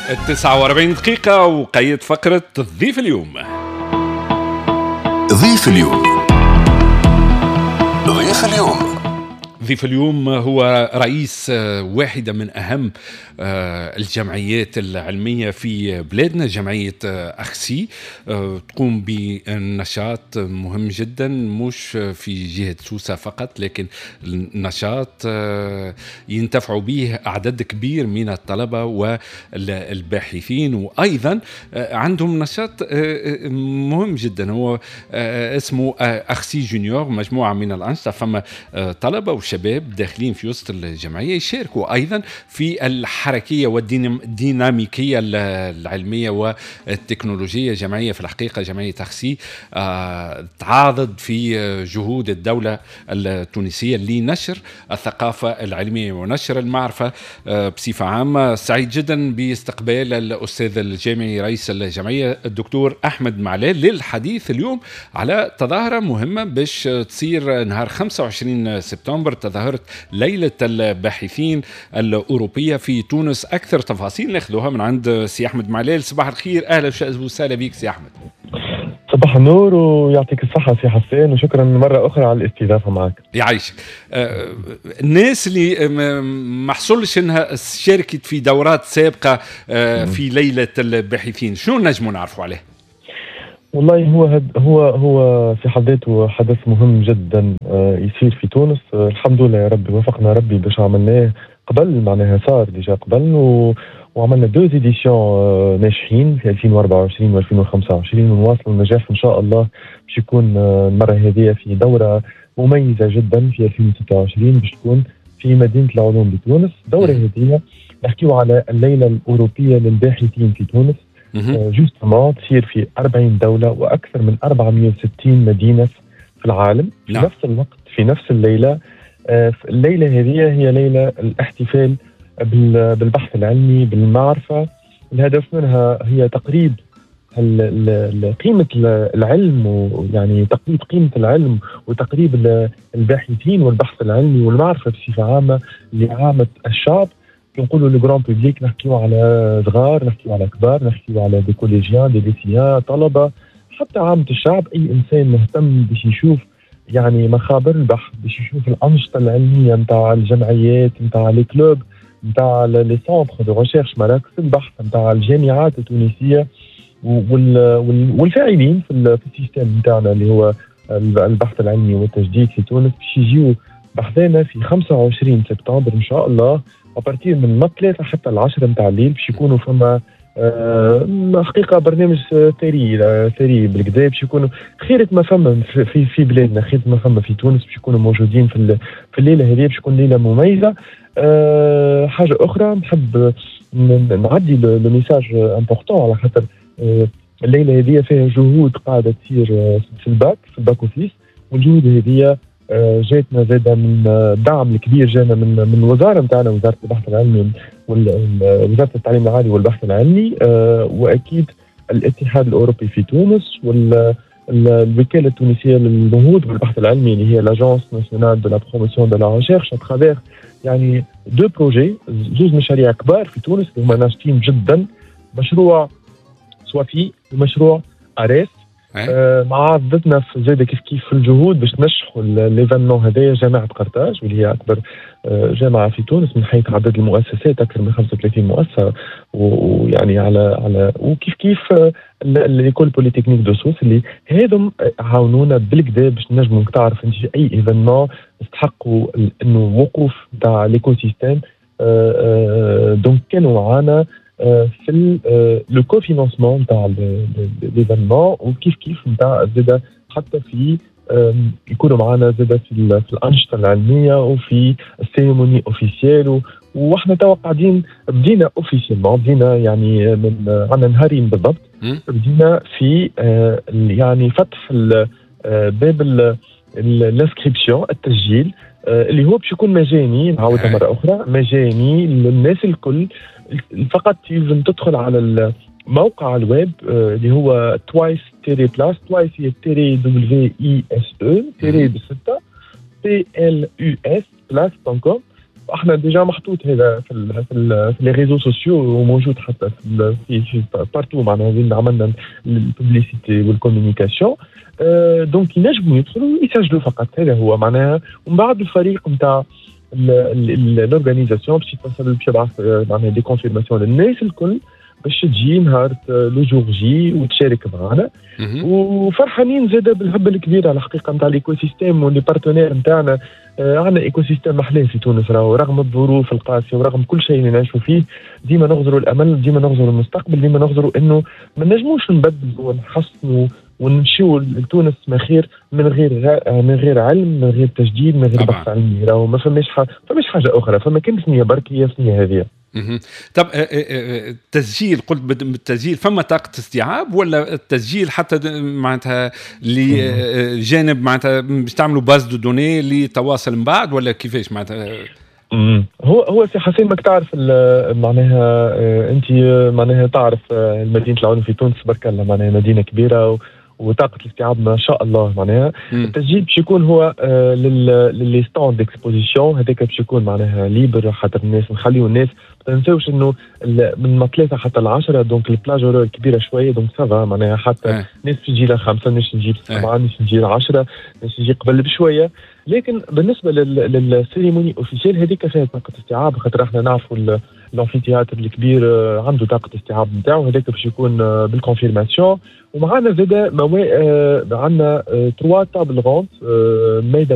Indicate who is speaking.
Speaker 1: 49 دقيقة وقيد فقرة ضيف اليوم.
Speaker 2: ضيف اليوم، ضيف اليوم.
Speaker 1: ضيف اليوم هو رئيس واحدة من أهم الجمعيات العلمية في بلادنا، جمعية أخسي، تقوم بنشاط مهم جدا، مش في جهة سوسة فقط، لكن النشاط ينتفع به أعداد كبير من الطلبة والباحثين، وأيضا عندهم نشاط مهم جدا هو اسمه أخسي junior، مجموعة من الأنشطة. فما طلبة وشباب داخلين في وسط الجمعية يشاركوا أيضا في الحركية والديناميكية العلمية والتكنولوجية. جمعية في الحقيقة جمعية أخسي تعاضد في جهود الدولة التونسية لنشر الثقافة العلمية ونشر المعرفة بصفة عامة. سعيد جدا باستقبال الأستاذ الجامعي رئيس الجمعية الدكتور أحمد معلال للحديث اليوم على تظاهرة مهمة باش تصير نهار 25 سبتمبر، تظاهرة ليلة الباحثين الأوروبية في تونس. أكثر تفاصيل ناخذوها من عند سي أحمد معلال. صباح الخير، أهلا وسهلا بك سي أحمد.
Speaker 3: صباح النور ويعطيك الصحة سي حسين، وشكرا مرة أخرى على الاستضافة معك.
Speaker 1: يعيشك. الناس اللي ما حصلش انها شاركت في دورات سابقة في ليلة الباحثين، شنو نجموا نعرفوا عليه؟
Speaker 3: والله هو في حد ذاته حدث مهم جدا يصير في تونس. الحمد لله يا ربي وفقنا ربي باش عملناه قبل، معناها صار déjà قبل وعملنا deux éditions ناجحين في 2024 و2025، ونواصل النجاح ان شاء الله باش يكون المرة هذه في دوره مميزة جدا في 2026 باش تكون في مدينة العلوم بتونس. الدورة هذه نحكيو على الليلة الاوروبية للباحثين في تونس، justement تصير في 40 دولة وأكثر من 460 مدينة في العالم في نفس الوقت في نفس الليلة. الليلة هذه هي ليلة الاحتفال بالبحث العلمي بالمعرفة. الهدف منها هي تقريب قيمة العلم، ويعني تقريب قيمة العلم وتقريب الباحثين والبحث العلمي والمعرفة بصفة عامة لعامة الشعب. نقولوا le grand public، نحكيو على صغار، نحكيو على كبار، نحكيو على des collégiens، des lycéens، طلبه، حتى عامة الشعب. اي انسان مهتم باش يشوف يعني مخابر البحث، باش يشوف الانشطة العلمية نتاع الجمعيات، نتاع les clubs، نتاع les centres de recherche، مراكز البحث نتاع الجامعات التونسية والفاعلين في ال système نتاعنا اللي هو البحث العلمي والتجديد في تونس، باش يجيو بحثنا في 25 سبتمبر ان شاء الله à partir من 3 حتى 10 نتاع الليل، باش يكونوا فما حقيقة برنامج ثري ثري بالكدا، باش يكونوا خيرة ما فما في بلادنا، خيرة ما فما في تونس، باش يكونوا موجودين في الليلة هذه، باش تكون ليلة مميزة. حاجة اخرى نحب نعدي le message important، على خاطر الليلة هذه فيها جهود قاعدة تصير في ال back office، والجهود هذه جاتنا زاده من الدعم الكبير جانا من الوزارة نتاعنا، وزارة البحث العلمي ووزارة التعليم العالي والبحث العلمي، واكيد الاتحاد الاوروبي في تونس والوكالة التونسية للنهوض بالبحث العلمي اللي هي l'agence nationale de la promotion de la recherche، à travers يعني deux projets، زوج مشاريع كبار في تونس اللي هما ناشطين جدا، مشروع سوافي ومشروع اريس. مع ضدنا في زاد كيف كيف في الجهود باش ننجحوا l'événement هذايا جامعه قرطاج، واللي هي اكبر جامعه في تونس من حيث عدد المؤسسات، اكثر من 35 مؤسسة، ويعني على وكيف كيف l'école polytechnique de Sousse، اللي هذم عاونونا بالكدا باش نجموا. تعرف انت اي événement استحقوا انه وقوف تاع l'écosystème، donc كانوا معانا في le cofinancement نتاع l'événement، وكيف كيف نتاع زاد حتى في يكونوا معنا زاد في الانشطة العلمية وفي ال cérémonie officielle. واحنا توا قاعدين بدينا officiellement، بدينا يعني من عندنا نهارين بالضبط، بدينا في يعني فتح باب l'inscription، التسجيل اللي هو باش يكون مجاني، نعاودها مرة اخرى، مجاني للناس الكل. فقط يلزم تدخل على موقع الويب اللي هو twice tiret plus، twice هي tiret w i s e، tiret بستة، p l u s plus point com. احنا déjà محطوط هذا في les réseaux sociaux وموجود حتى في partout، معناها وين عملنا ال publicité وال communication. donc ينجموا يدخلوا يسجلوا فقط، هذا هو معناها. ومن بعد الفريق نتاع l'organisation باش يتصل، باش يبعث معناها des confirmations للناس الكل باش تجي نهار le jour J وتشارك معنا. وفرحانين زاده بالهبه الكبيرة الحقيقة نتاع l'écosystème و les partenaires نتاعنا. عندنا écosystème محلاه في تونس راهو، رغم الظروف القاسية ورغم كل شيء اللي نعيشوا فيه، ديما نغزروا الامل، ديما نغزروا المستقبل، ديما نغزروا انه ما نجموش نبدلوا ونحسنوا ونمشيو لتونس ما خير من غير علم، من غير تجديد، من غير بحث علمي. راهو ما فماش حاجة اخرى، فما كان ثنيه برك، هي ثنيه هذه.
Speaker 1: طب التسجيل، قلت بالتسجيل، فما طاقة استيعاب ولا التسجيل حتى معناتها لجانب معناتها باش تعملوا base de données لتواصل من بعد ولا كيفاش معناتها؟
Speaker 3: هو سي حسين، ماك تعرف معناها انت معناها تعرف مدينة العلوم في تونس برك الله، معناها مدينة كبيرة وطاقة الاستيعاب ما شاء الله. معناها التسجيل باش يكون هو ل les stands d'exposition، هذاك باش يكون معناها libre، خاطر الناس نخليو الناس، ما تنساوش انه من 3 حتى ل10، donc ال plage horaire كبيرة شويه، donc ça va معناها حتى ناس تجي ل5، ناس تجي ل7، ناس تجي ل10، ناس تجي قبل بشويه. لكن بالنسبة لل cérémonie officielle هذيك فيها طاقة استيعاب، خاطر احنا نعرفوا l'amphithéâtre الكبير عنده طاقة استيعاب نتاعو، هذاك باش يكون بال confirmation. ومعنا زاد عندنا trois tables rondes، مائدة